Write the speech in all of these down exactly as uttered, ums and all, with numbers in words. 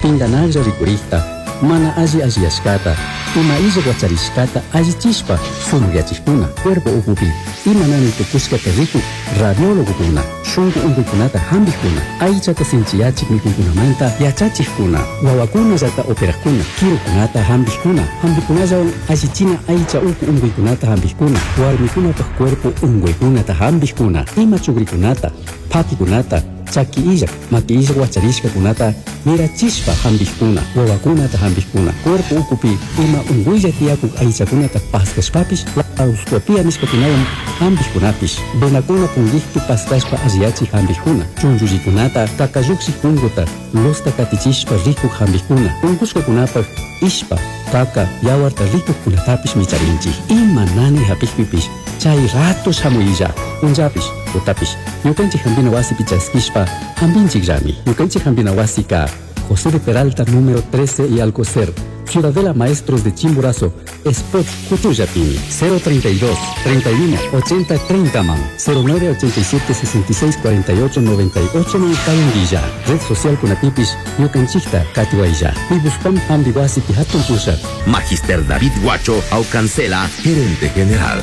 Pinganaglla rikurikta, mana alli alliyashkata, ima illa wacharishkata allichishpa sumakyachikuna, cuerpo ukupi ima nani tukushkata rikuk radiólogokuna, shunku unkuykunata hampikkuna, aychata sinchiyachik mikuykunamanta yachachikkuna, wawakunallata operakuna, kirukunata hampikkuna, hampikunallawan allichina aycha uku unkuykunata hampikkuna, warmikunapak cuerpo unkuykunata hampikkuna, ima chukrikunata, pakikunata, chaki illak, maki illak wacharishkakunata mirachishpa hampikkuna, wawakunata hampikkuna, cuerpo ukupi ima unkuylla tiyakuk aychakunata paskashpapish laparoscopia nishkakunawan hampikkunapish, venakuna punkikpi paskashpa alliyachik hampikkuna, chunchullikunata kakallukshik punkuta luzta katichishpa rikuk hampikkuna, unkushkakunapak ishpa, kaka, yawarta rikukkunatapish micharinchik. Ima nani hapikpipish chay rato shamuylla, punllapish, tutapish, ñukanchik hampina wasipi chaskishpa hampinchikllami. Ñukanchik hampina wasika José de Peralta número trece y Alcocer, Ciudadela Maestros de Chimborazo, Spot Cutullapini, cero treinta y dos, treinta y uno, ochenta, treinta man, cero nueve ochenta y siete, sesenta y seis, cuarenta y ocho, noventa y ocho man Kayunguilla, Red Social Kunatipis, Ñukanchikta, Katiwaya, Pibuspam Hambiwasi Pihatun Pusha. Magister David Guacho Aucancela, gerente general.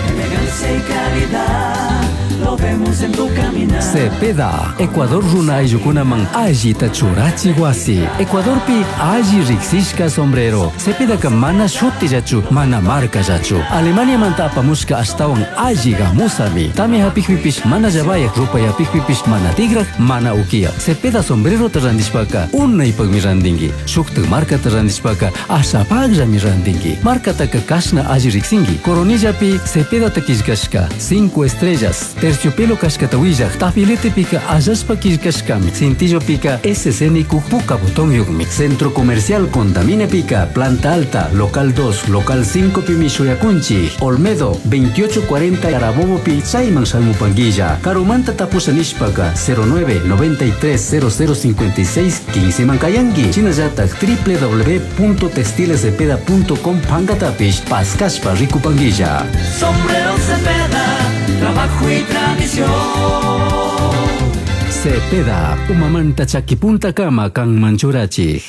Elegancia y calidad, lo vemos en tu caminar. Cepeda, Ecuador runa ayukunaman allita churachi wasi. Ecuadorpi alli riksishka sombrero. Cepedaka mana shutillachu, mana markallachu. Alemania manta apamushka ashtawan alli gamusami. Tami hapikpipish mana llavayak, rupayapikpipish mana tigrak, mana ukiya. Cepeda sombrero ta randishpaka unaypakmi randinki. Shuktak markata randishpaka ashapakllami randinki. Markataka kashna alli riksinki. Coronillapi Cepeda killkashka cinco estrellas. Terciopelo kashkata willaq, tafiletepika allashpa killkashkami, cintillopika S C N puka botón yukmi. Centro Comercial Contamine pica, Planta Alta, Local dos, Local cinco pimi shuyakunchi, Olmedo, veintiocho cuarenta Carabobo pi, Chayman Salmupanguilla, Karumanta tapusa nishpaka, cero nueve noventa y tres cero cero cincuenta y seis quince Mancayangi, Chinallatak, doble u doble u doble u punto textiles cepeda punto com Pangatapish, Pascashpa Ricupanguilla. Sombrero Cepeda, trabajo y tradición. Cepeda, umamanta chaquipunta kama kan manchurachik.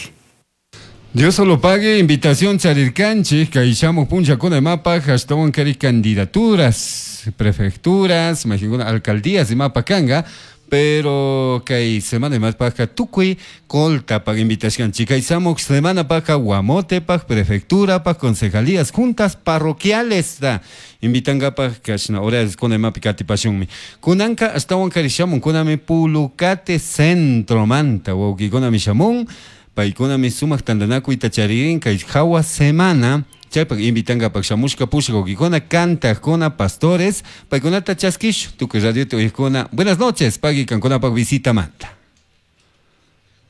Dios solo pague, invitación charirkanchik, kaishamu puncha kuna mapa, hashtag kari candidaturas, prefecturas, imagina, alcaldías y mapa kanga, pero kay semana más paja tukui colta paga invitación chica y samok semana paja guamote paj prefectura paj concejalías juntas parroquiales da invitan paj kashna horas con el mapicati pasión kunanka hasta wankarishamun kunami pulucate centro manta wauki kunami shamun paykunami sumaq tantanakuy tacharirin kay hawa semana chaypak invitankapak shamushka pushka wawkikuna kantakuna pastores paykunata chaskish tukuy radio uyakuna. Buenas noches pagui kankunapak visita manta.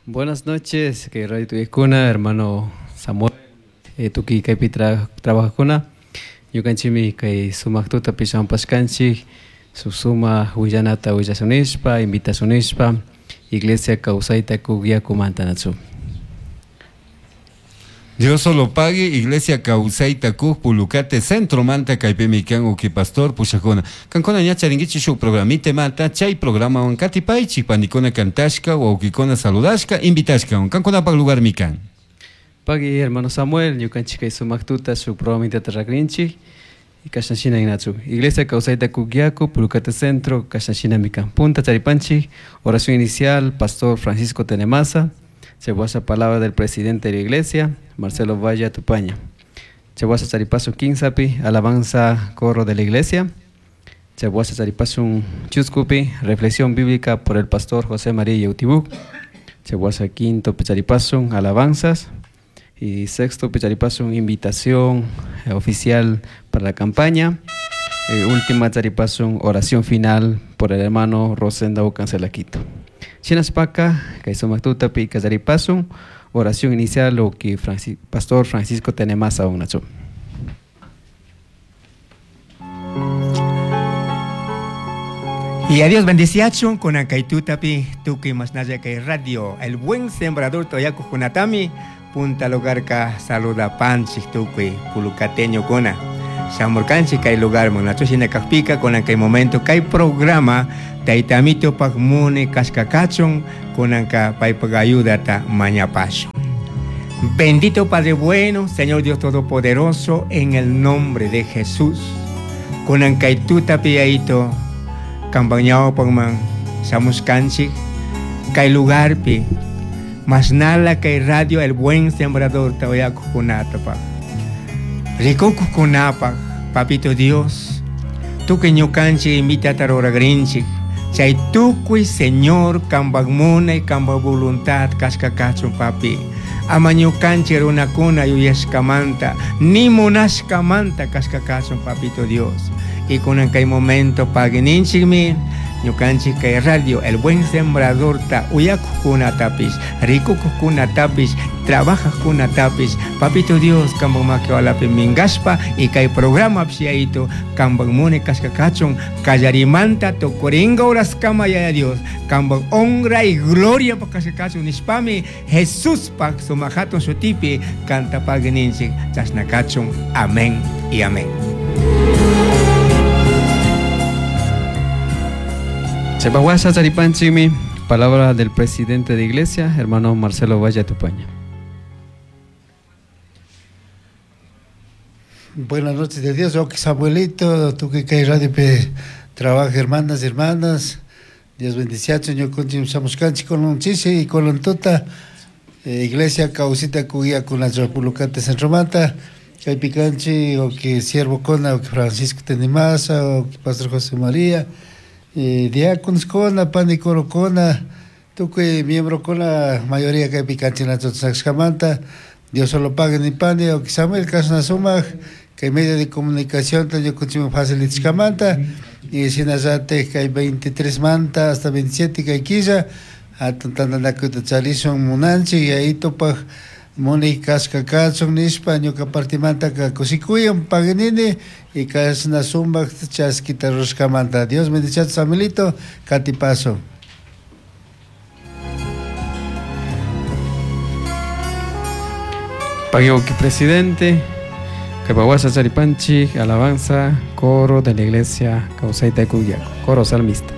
Buenas noches kay radio tuyakuna hermano Samuel eh, tukuy kaypi tra trabajajkuna ñukanchikmi kay sumaq tutapi shampashkanchik suma willanata willasunishpa invitasunishpa Iglesia Kawsayta Kuk Yakumanta natsu. Dios solo pague, Iglesia Kawsayta Kuk Pulucate Centro Manta kaypimi kan uki pastor pushakuna. Kankuna ña charinkichik shuk programite manta chay programa wan katipaychik panikuna kantashka wawkikuna saludashka invitashka wan kankunapak lugar mikan. Pagui hermano Samuel ñukanchik kay sumaq tuta shuk programita rakrinchik y kashnashina inatsu. Iglesia Kawsayta Kuk Yaku Pulucate Centro kashnashina mikan. Punta charipanchik oración inicial Pastor Francisco Tenemaza. Chehuasa palabra del presidente de la iglesia, Marcelo Valle Tupaña. Chehuasa charipasun quinsapi, alabanza corro de la iglesia. Chehuasa charipasun chuscupi, reflexión bíblica por el pastor José María Yautibuk. Chehuasa quinto picharipasun, alabanzas. Y sexto picharipasun, invitación oficial para la campaña. Eh, última charipasun, oración final por el hermano Rosenda Ucancelaquito. Chinaspaka, kay kallaripasun, oración inicial lo que Franci Pastor Francisco Tenemaza unacho. Y a Dios bendiciachun con akaitutapi tuki masnaya kay radio el buen sembrador toyaku junatami punta lugarka saluda panchik tuki pulucateño kuna. Shamurkanchik kay lugarman nachu shina kakpika kunan kay momento kay programa Tayta Amitopak mune kashkakachun kunanka paypak ayudata mañapashun. Bendito Padre bueno, Señor Dios Todopoderoso, en el nombre de Jesús. Kunan kay tuta piyaito, kampañawpakman shamushkanchik, kay lugarpi, masnala kay radio El Buen Sembrador tawayakukunatapaq. Rikukukunapaq, Papito Dios, tukuy ñukanchik invitata ruragrinchik, chay tukuy Señor kanpak munay kanpak voluntad kashkakachun papi. Ama ñukanchik runakuna yuyashkamanta, ni munashkamanta kashkakachun Papito Dios. Y kunan kay momento paguininchikmi, ñukanchik kay radio El Buen Sembrador ta uyakukunatapish, rikukukunatapish, trabajakunatapish, Papito Dios kanpak makiwalapi minkashpa y kay programa psiaito kanpak mune kashkakachun kallarimanta tukurinka horaskama Yaya Dios kanpak honra y gloria pa kashkakachun nishpami Jesuspak sumak hatun shutipi kanta paguininchik chashnakachun. Amén y amén. Chepahuasha Charipanchimi, palabra del presidente de iglesia, hermano Marcelo Valle Tupaña. Buenas noches de Dios, ok Samuelito, tú que caes radio pe trabaja hermanas y hermanas, Dios bendice, Señor, con samuscanchi con un chisi y con un tuta, eh, iglesia causita cuya con la República Centro Manta, que picanchi, o que siervo con o que Francisco Tenimasa, o que Pastor José María, eh, diáconos con pani coro con tukuy miembro con la mayoría que picanchi na tzotzakxkamanta, Dios solo pague ni pani, o que Samuel Casnasumaj, que medio de comunicación yo consigo facilitxkamanta, y sinazate que hay veintitrés manta hasta veintisiete que hay quilla, hatun chalisun munanchi, y ahí topaj muni kaskakachun nishpa ñuka partimanta ka kusikuyan paganini y kasnasumbaj chaskita rushkamanta. Dios bendice a Samuelito, katipaso. Paguioki presidente, Capahuasa Charipanchi, alabanza, coro de la iglesia Causaita Cuyaco, coro salmista.